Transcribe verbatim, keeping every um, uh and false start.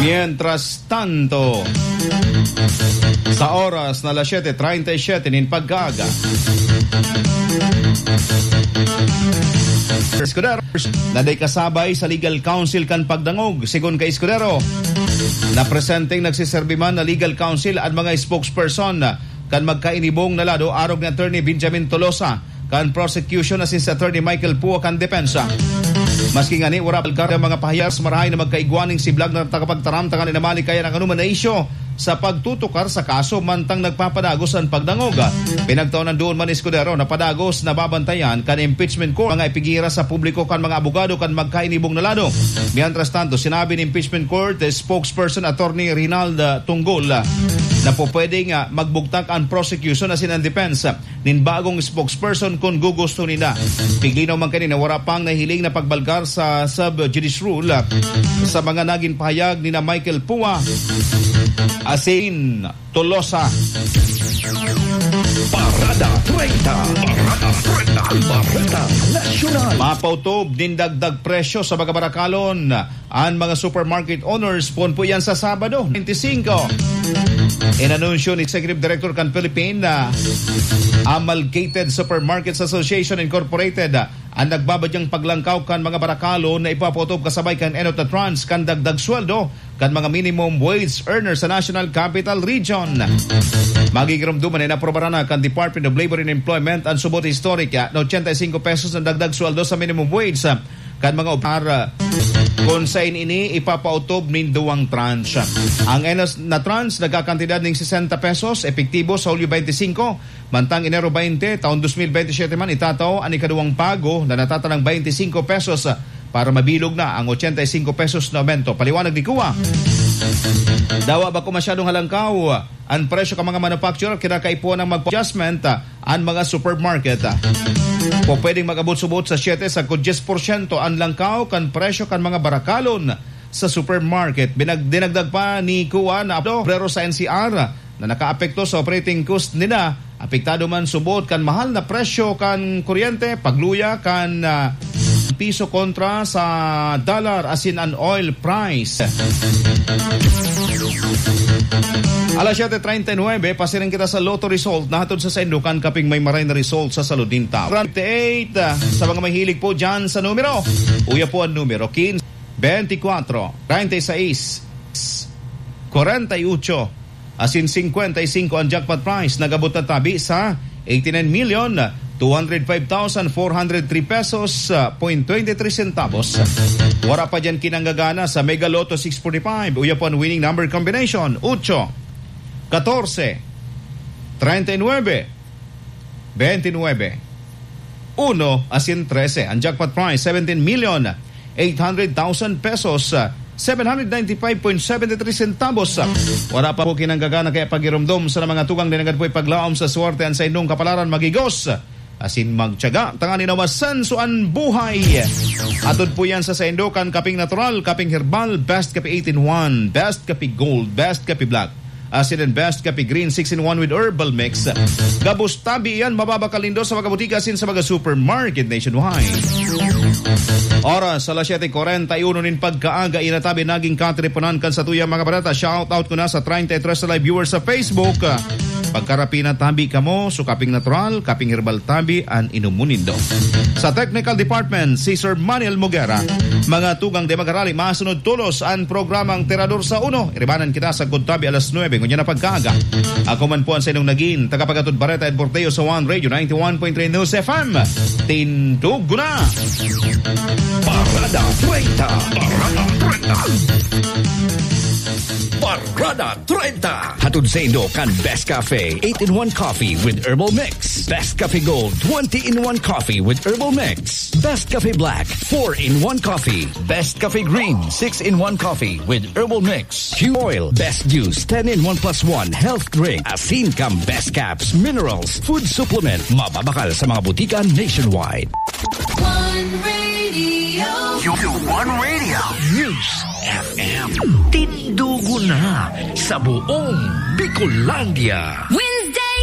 Mientras tanto, sa oras na alas siyete treinta y siete nin pagkaaga, Escudero, na day kasabay sa legal counsel kan pagdangog. Sigon kay Escudero, na presenteng nagsiserbi man na legal counsel an mga spokesperson kan magkainibong na lado, arog ni Attorney Benjamin Tolosa kan prosecution asin si Attorney Michael Pua kan depensa. Maski ngani wara pa alkar ang mga pahayag, marahay na magkaigwa ning siblag na tagapagtaram tanganing namali kaya ang anuman na isyu sa pagtutukar sa kaso mantang nagpapadagos an pagdangog. Pinagtaon duon man ni Escudero na padagos na babantayan kan impeachment court mga ipigira sa publiko kan mga abogado kan magkainibong na lado. Mientras tanto, sinabi ni impeachment court spokesperson Attorney Rinalda Tunggol na po pwedeng, ah, magbugtak ang prosecution asin ang defense nin bagong spokesperson kun gugusto ninda. Piglinaw man kanina, wara pang nahiling na pagbalgar sa sub judice rule, ah, sa mga nagin pahayag ni na Michael Pua asin Tolosa. Parada treinta. Parada treinta. Parada Nasyonal. Mapautob nin dagdag presyo sa mga barakalon an mga supermarket owners poon po yan sa Sabado, twenty-five. Inanunsyo ni Executive Director kan Philippine, ah, Amalgamated Supermarkets Association Incorporated, ah, ang nagbabadyang paglangkaw kan mga barakalon na ipapautob kasabay kan enot na tranche kan dagdag sweldo kan mga minimum wage earner sa National Capital Region. Magigiromduman na inaprobaran na kan Department of Labor and Employment ang subot historic, ah, na ochenta y cinco pesos na dagdag sweldo sa minimum wage, ah, kan mga operar, kun sain ini ipapautob nin duwang tranche. Ang enos na tranche nagkakantidad ning sesenta pesos, epektibo sa Hulyo twenty-five, mantang Enero twenty, taon dos mil bente siyete man, itatao an ikaduwang pago na natatanang twenty-five pesos para mabilog na ang ochenta y cinco pesos na aumento. Paliwanag ni Kua, dawa bako masyadong halangkaw an presyo kan mga manufacturer, kinakaipuhan ng mag-adjustment, ah, an mga supermarket, ah. Pwedeng mag-abot subot sa siyete sagkod dyes porsyento an langkaw kan presyo kan mga barakalon sa supermarket. Binag-, dinagdag pa ni Kua na obrero sa N C R na nakaapekto sa operating cost nila, apektado man subot kan mahal na presyo kan kuryente, pagluya kan, ah, piso kontra sa dollar asin an oil price. Alas siyete treinta y nuebe, pasiring kita sa Lotto result na hatod sa saindo kan kaping may maray na result sa salud nin tawo. Round eight, ah, sa mga mahilig po dyan sa numero. Uya po ang numero, quince, veinticuatro, treinta y seis, cuarenta y ocho, asin cincuenta y cinco ang jackpot prize. Nag-abot na tabi sa eighty-nine million two hundred five thousand four hundred three pesos, ah, point twenty-three centavos. Wara pa diyan kinanggagana sa Mega Lotto six forty-five. Uya po ang winning number combination, ocho, catorce, treinta y nuebe, veintinuebe, uno, asin trese. Ang jackpot prize, seventeen million eight hundred thousand pesos, ah, seven hundred ninety-five point seventy-three centavos. Wala pa po kinanggagana kaya pagiromdom sa mga tugang na nanggad po ipaglaom sa swerte an saindong kapalaran, magigos asin magtiyaga tanganing masanso an buhay. Atod po yan sa saindo kan kaping natural, kaping herbal, best kape eight-in-one, best kape gold, best kape black, asin and best kape green six-in-one with herbal mix. Gabos tabi yan, mababakal nindo sa mga butika asin sa mga supermarket nationwide. Oras, alas siyete cuarenta y uno nin pagkaaga, inatabi naging kateleponan kan satuyang mga bareta. Shout out ko na sa treinta y tres na live viewers sa Facebook. Pagkarapi na tabi kamo, so kaping natural, kaping herbal tabi, an inom mo nindo. Sa technical department, si Sir Manuel Mogera. Mga tugang de magarali, masunod tolos an programang Tirador sa Uno. Iribanan kita sa Good Tabi alas nuebe, ngunyan na pagkaaga. Ako man po ang sa inyong naging tagapagatod bareta and porteo sa One Radio ninety-one point three News F M. Tindog na! Parada treinta. Parada treinta. Parada treinta. Hatod saindo kan Best Cafe, eight-in-one Coffee with Herbal Mix. Best Cafe Gold, twenty-in-one Coffee with Herbal Mix. Best Cafe Black, four-in-one Coffee. Best Cafe Green, six-in-one Coffee with Herbal Mix. Q Oil, Best Juice, ten-in-one plus one Health Drink. Asin kan Best Caps, Minerals, Food Supplement. Mababakal sa mga butika nationwide. One Radio. Your One Radio. News F M. Tindugo na sa buong Bicolandia. With